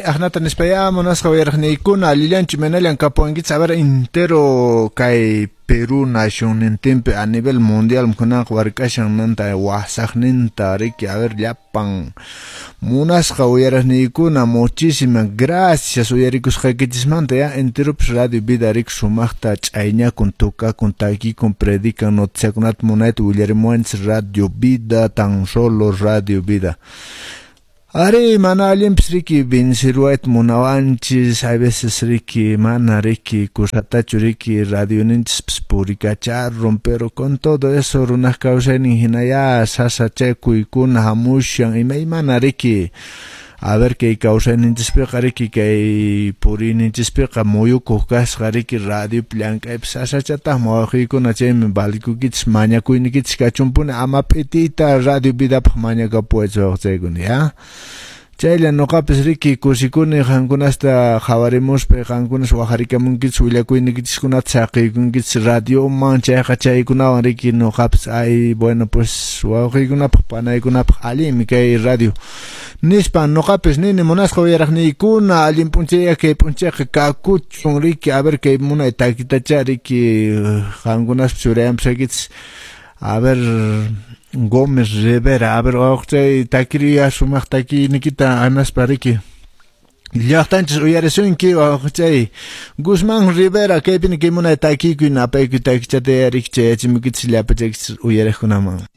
Aqnata nispayá munasqa uyariqniykuna allillanchu imaynallan kapuwankichis a ver entero kay Perú nacionnintinpi a nivel mundial kunanqa wark'ashan nanta wasaqninta riki a ver llapan munasqa uyariqniykuna muchísimas gracias uyarikusqaykichismanta ya enteropis Radio Vida riki sumaqta ch'ayñakun tukakun takikun predican noticiakunata munayta willarimuwanchis Radio Vida tan solo Radio Vida. Ari, mana allinpis riki venceruwayta munawanchis, a veces riki mana riki kusatachu riki radioninchispis purikacharun, pero con todo eso runaq kawsaynin hinayá sasachakuykuna hamushan imaymana riki. A ver kay kawsayninchispiqa riki kay puriyninchispiqa muyukuq kasqa riki radiopi llank'aypi sasachataqmi wawqiykuna chaymi valikukichis mañakuynikichis kachunpuni ama p'itiyta Radio Vidapaq mañakapuwaychis wawqichaykuna ya. Chaylla nuqapis riki kusikuni qankunasta qhawarimuspa qankunas waqharikamunkichis willakuynikichiskunata saqiykunkichis radioman chayqa chaykunawan riki nuqapis ay bueno pues wawqiykunapaq panaykunapaq allinmi kay radio nispa nuqapis nini munasqa uyaraqniykuna allin p'unchayya kay p'unchayqa kakuchun riki a ver kay munay takitacha riki qankunaspa churayanpusaykichis a ver Gómez Rivera, a ver wawqichay takiriya sumaq takiynikita anaspa riki llaqtanchis uyarisunki wawqichay Guzmán Rivera kaypini kay munay takiykuy napaykuy takichata riki chayachimuykichis llapachaykichis uyariqkunaman.